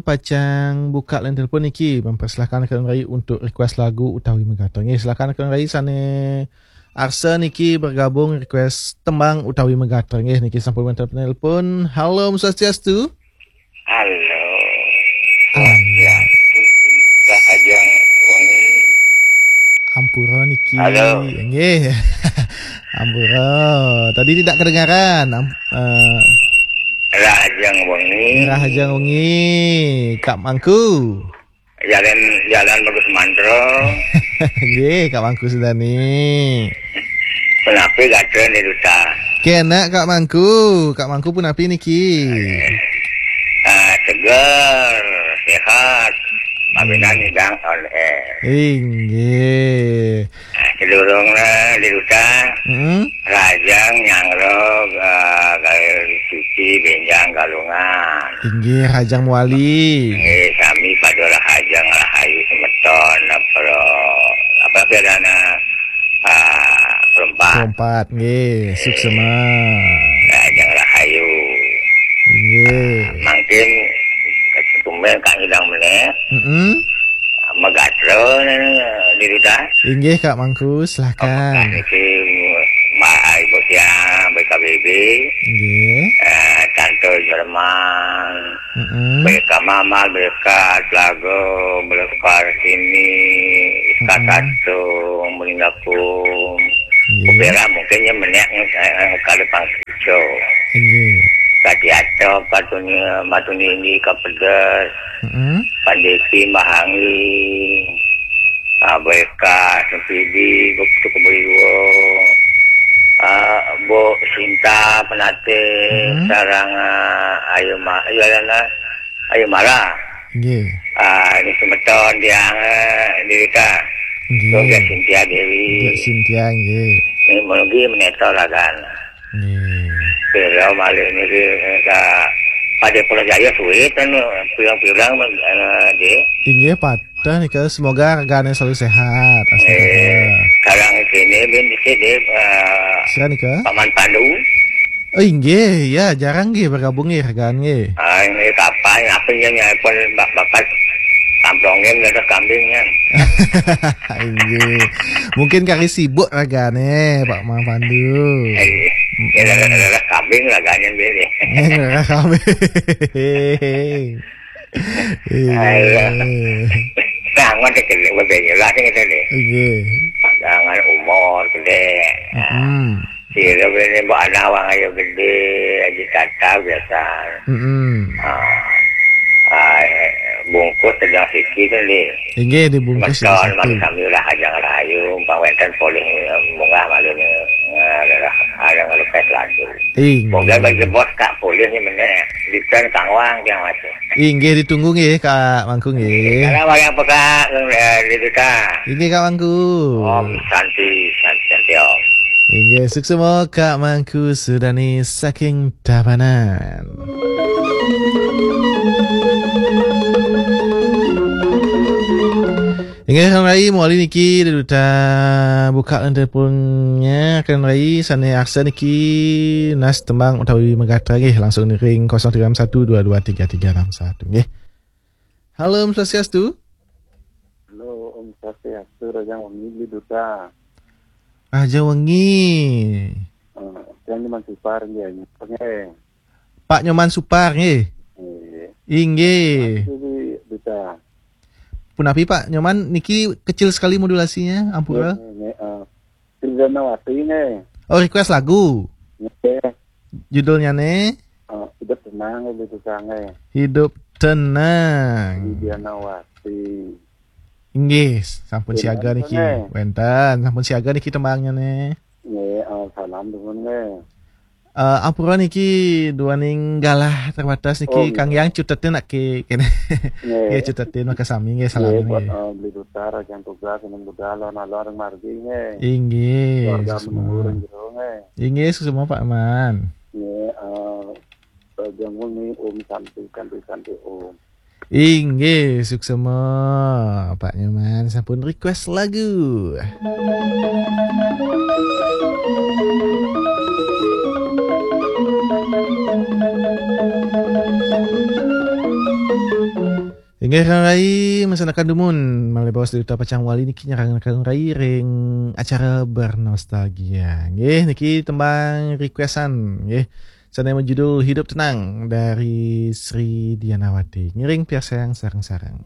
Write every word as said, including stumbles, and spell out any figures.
pacang buka line telepon niki, mempersilahkan Kak Rai untuk request lagu utawi megatra. Nggih, silakan Kak Rai sane arsa niki bergabung request tembang utawi megatra. Nggih, niki sampun wonten penelpon. Halo, Om Swastiastu. Halo. Halo. Ya. Rahajeng wengi. Ampura niki. Halo. Nggih. Ampura. Tadi tidak kedengaran. Am-, eh. Rahajeng wengi. Rahajeng wengi. Kak Mangku. Jalan, Jalan Bagus Mantro. Nggih, Kak Mangku Sudani. Punapi gatra Ni Duta? Kena, Kak Mangku. Kak Mangku punapi niki? Ah, seger, sehat. Paminan Hmm. Idang on air. Inggih. Ah, sedurungna Ni Duta. Mm-mm. Rahajeng nyanggra, ah, gawe suci benjang Galungan. Inggih, Rahajeng mewali. Inggih, sami pada rahajeng rahayu semeton, apa, apa bedana, ah, perempat. Perempat, nggih, suksema. Rahajeng rahayu. Nggih. Mangkin tumben Kang Idang meneh. Mm-mm. Megatra Ni Duta. Inggih, Kak Mangku, silakan. Niki, Mbak Ibu Siang, B K B B. Nggih. Eh, Tante Jerman, Mm-mm. B K Mama, B K Telaga, B K Sini, Iska Mm-mm. Tatung, Meninggakum. Nggih. Kupira mungkin ya menek, eh, kada pangsico. Nggih. Kadiato, Patuni, Matuni ini, Kapedes. Mm-mm. Pandiki, Mahangi. Ah, B K, Sempidi, Guptu Keberiwo. Ah, Bu Sinta, Penate, Mm-mm. sarang, ah, Ayu Ma-, Ayu Alana, Ayu Mara. Nggih. Ah, ini semeton tiang, eh, Ni Duta. Nggih. Yoga Cynthia Dewi. Yoga Cynthia, nggih. Ini mungkin meneto ragan. Nggih. Pira malih niki, eh, ka Pade Pulau Jaya suwit kan, pirang-pirang, eh, nggih. Inggih, patah nika. Semoga ragane selalu sehat. Astagfirullah. Eh, sekarang sini bin dikit, eh, Sira nika? Paman Pandu. Oh, inggih, ya, jarang nggih bergabung nggih, rekan nggih. Ah, ini kapan? Apa yang nyai pun bak-, bakat kamplongin ada kambingnya. Inggih. Mungkin kari sibuk ragane, Pak Mang Pandu. Eh, ya, ada, ada, ada kambing raganya dia. Nggih, ada kambing. Iya. Ayo. Nah, ngono iki lho, wong yo lah sing ngene. Inggih. Jangan umur gede. Mm-mm. Sira ini mbok anak wong ayo gede, aja kata biasa. Mm-mm. Ah. Ah, bungkus sedang siki to, Dik. Inggih, dibungkus sedang siki. Mesti kami lah aja ngerayu, umpama wenten polih munggah malu ni, eh, ada request lagu. Inggih. Mungkin bagi bos Kak polih ni meneh, Ditan Kang Wang yang masuk. Inggih, ditunggu nggih, Kak Mangku nggih. Salam wayang peka, eh, Ni Duta. Inggih, Kak Mangku. Om Santi, Santi, Santi Om. Inggih, suksema Kak Mangku Sudani saking Tabanan. Inggih, Kang Rai, mawali niki Ni Duta buka line teleponnya, Kang Rai, sane aksen niki nas tembang utawi megatra nggih, langsung ring kosong tiga enam satu dua dua tiga tiga enam satu nggih. Halo, Om Swastiastu. Halo, Om Swastiastu, Rahajeng wengi, Ni Duta. Rahajeng wengi. Eh, yang di Mansipar nggih, nggih. Pak Nyoman Supar, nggih. Nggih. Inggih. Makasih, Bi-, Duta. Punapi, Pak Nyoman, niki kecil sekali modulasinya, ampura. Nggih, nggih, eh, Sri Danawati, nggih. Oh, request lagu. Nggih. Judulnya nih? Eh, Hidup Tenang, Bi Duta, nggih. Hidup Tenang. Sri Danawati. Inggih, sampun siaga niki. Wenten, sampun siaga niki tembangnya nih. Nggih, eh, salam dumun nggih. Eh, ampura niki duaning galah terbatas niki, oh, Kang Yang cutetin nak ke kene. Nggih. Nggih, cutetin maka sami nggih, salam nggih, buat, nggih. Eh, Beli Duta, Rahajeng Tugas, Seneng Budal, Lon Alor, Margi nggih. Inggih, keluarga suksma. Menurun jero nggih. Inggih, suksma Pak Man. Nggih, eh, Rahajeng wengi Om Santi, Santi, Santi Om. Inggih, suksema Pak Nyoman sampun request lagu. Dengar rai mesanakan dumun malih baos Duta Pacang Wali niki nyarengkeun rai ring acara Bernostalgia. Nggih, niki tembang requestan nggih. Sane majudul Hidup Tenang dari Sri Dianawati. Ngiring piarsayang sareng-sareng.